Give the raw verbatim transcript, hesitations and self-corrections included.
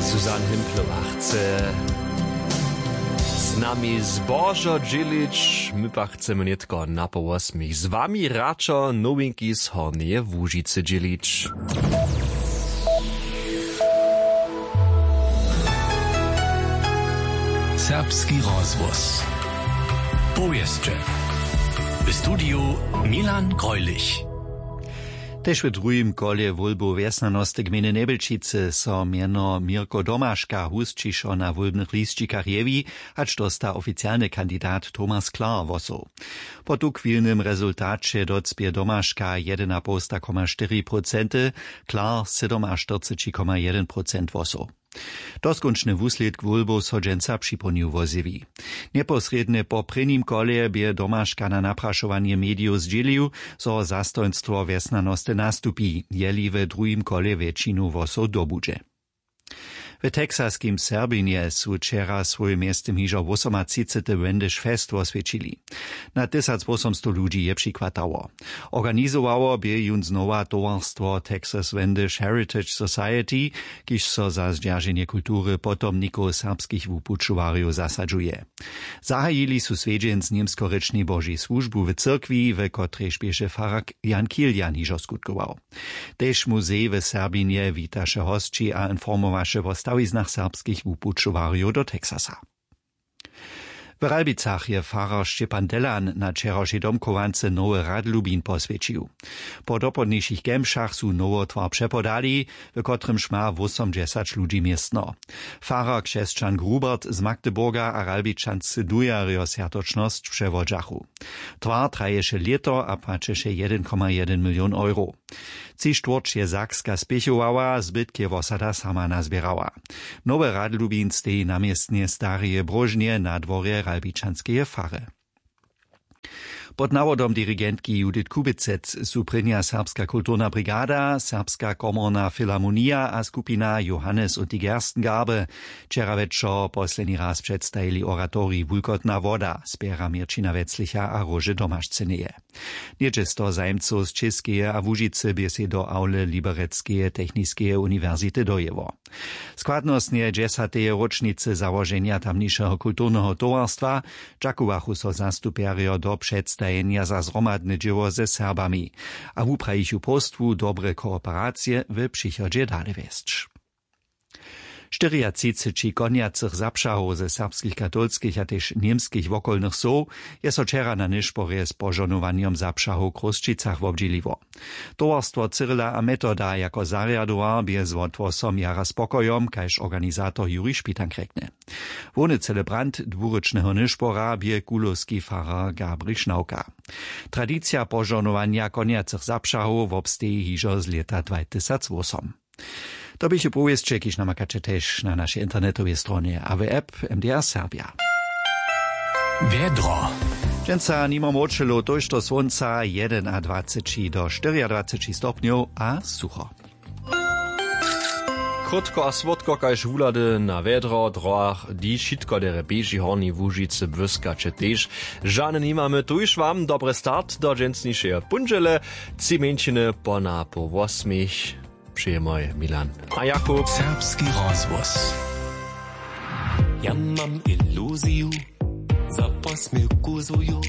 Susanne Himplowa chce z nami zbožo dźělić. My pak chcemy nětko na poł wosmich z wami radšo nowinki z Hornjeje Łužicy dźělić. Serbski rozhłos. Powěsće. W studiju Milan Greulich. Tež w druhim kolje wólbow wjesnjanosty gmejny Njebjelčicy so mjeno Mirko Domaška husćišo na wólbnych lisćikach jewi, hač dósta oficialny kandidat Thomas Klar hłosow. Po tuchwilnym rezultaće docpě Domaška jedynapołsta koma štyri procenty, Klar sydomaštyrceći koma jedyn procent hłosow. Doskónčny wuslědk wólbow so dźensa připołdnju wozjewi. Njeposrědnje po prěnim kolje bě Domaška na naprašowanje medijow zdźělił, zo zastojnstwo wjesnjanosty nastupi, jeli w druhim kolje wjetšinu hłosow dobudźe. W texaskim Serbinje su wčera swój mjeztym hižo wosomatřicety Wendish Fest woswjećili. Na tysacwosomstow ludźi je přichwatało. Organizowało bě jón znowa towarstwo Texas Wendish Heritage Society, kiž so za zdźerženje kultury potomnikow serbskich wupućowarjow zasadźuje. Zahajili su swjedźeń z němskorěčnej Božej słužbu w cyrkwi, w kotrejž běše farar Jan Kilian hižo skutkował. Tež muzej w Serbinje witaše hosći a informowaše wo stawiznach serbskich wupućowarjow do Texasa. W Ralbicach je farar Šćepan Delan na wčerawšej domchowance nowy rad Lubin poswjećił. Po dopołdnišich kemšach su nowotwar přepodali, w kotrymž ma wósomdźesać ludźi městno. Farar křesćan Grubert z Magdeburga a Ralbičanscy dujerjo swjatočnosć přewodźachu. Twar traješe lěto a płaćeše jedyn koma jedyn milion euro. Tři štwórć je Sakska spěchowała, zbytk je wosada sama nazběrała. Nowy rad Lubin steji na městnje stareje bróžnje na dworje Ralbičanskeje fary. Pod nawodom dirigentki Judith Kubicec su prěnja Serbska kulturna brigada, Serbska komorna filharmonija a skupina Johannes und die Gerstengarbe wčera wječor posledni raz předstajili oratorij Wulkotna woda spjera Měrćina Weclicha a Róže Domašceneje. Něhdźe sto zajimcow z Čěskeje a Łužicy bě sej do awle Liberecskeje techniskeje uniwersity dojěło. Składnostnje dźesateje róčnicy załoženja tamnišeho kulturneho towarstwa dźakowachu so zastupjerjo do předstajenja za zhromadne dźěło ze Serbami a wuprajichu próstwu dobre kooperacije w přichodźe dale wjesć. Štyriatřiceći konjacych zapřahow ze serbskich katolskich a tež němskich wokolnych wsow je so wčera na nyšporje z požohnowanjom zapřahow w Chrósćicach wobdźěliło. Towarstwo Cyrila a Metoda jako zarjadowar bě z wotwosom jara spokojom, kaž organizator Juri Špitank rjekny. Hłowny celebrant dwurěčneho nyšpora bě kulowski farar Gabrich Šnawka. Tradicija požohnowanja konjacych zapřahow wobsteji hižo z lěta dwatysacwosom. To běchu powěsće, kiž namakaće tež na našej internetowej stronje a w app M D R Serbia. Wjedro. Dźensa nimo młočelow, tójšto słónca, jedynadwaceći do štyriadwaceći stopnjow a sucho. Krótko a słodko kaž wuhlady na wjedro, drohach, hdyž wšitko derje běži, w Hornjej Łužicy błyskaće tež. Žane nimamy, tuž wam dobry start do dźensnišeje póndźele. Tři mjeńšiny po na poł wosmich. Přejemoj Milan a Jakub. Serbski rozhłos. Ja mam iluziju, za posměwku zuju.